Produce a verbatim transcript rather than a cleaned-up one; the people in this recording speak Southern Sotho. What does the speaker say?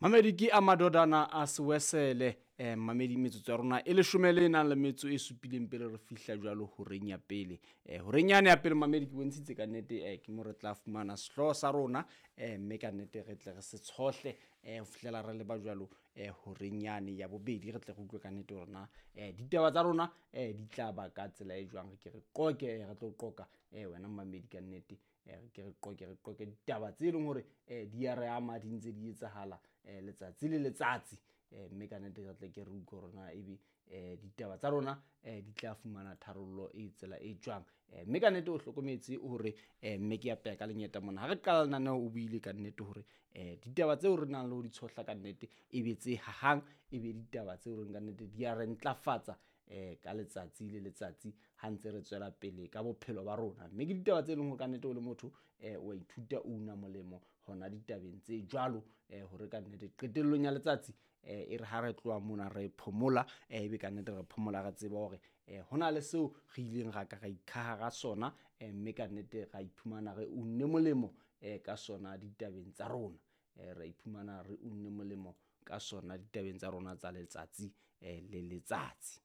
Mamedi ke a madodana a sewesele eh mamedi metsotso ya rona e leshome le nang le metso e supileng pele re fihla jwalo horeng ya pele. Eh horeng yane ya pele mamedi ke bontshitse ka nnete eh ke mo re tla fumana sehlooho sa rona eh mme ka nnete re tle re se tshohle eh ho fihlela re leba jwalo eh horeng yane ya bobedi re tle re utlwe ka nnete hore na eh ditaba tsa rona eh di tla ba ka tsela e jwang. Re ke re qoke eh, re tlo qoka eh wena mamedi ka nnete eh re ke re qoke re qoke ditaba tse leng hore eh di a re ama di ntse di etsahala eh letsatsi le letsatsi eh mme ka nnete re tle ke re utlwe hore na ebe eh ditaba tsa rona eh di tla fumana tharollo e tsela e jwang. Eh mme ka nnete o hlokometse hore eh mme ke apeya ka lenyeta mona ha re qala lenaneo o buile ka nnete hore eh ditaba tseo re nang le ho di tshohla ka nnete e be tse hahang e be ditaba tseo reng ka nnete di a re ntlafatsa eh ka letsatsi le letsatsi ha ntse re tswela pele ka bophelo ba rona. Mme ke ditaba tse leng hore ka nnete o le motho eh wa ithuta o una molemo hona ditabeng tse jwalo eh hore ka nnete qetellong ya letsatsi eh e re ha re tloha mona re phomola eh ebe ka nnete re phomola re tseba hore eh hona le seo re ileng ra ka ra ikhaha ka sona eh mme ka nnete ra iphumana re unne molemo eh ka sona ditabeng tsa rona. Eh ra iphumana re unne molemo ka sona ditabeng tsa rona tsa letsatsi eh le letsatsi.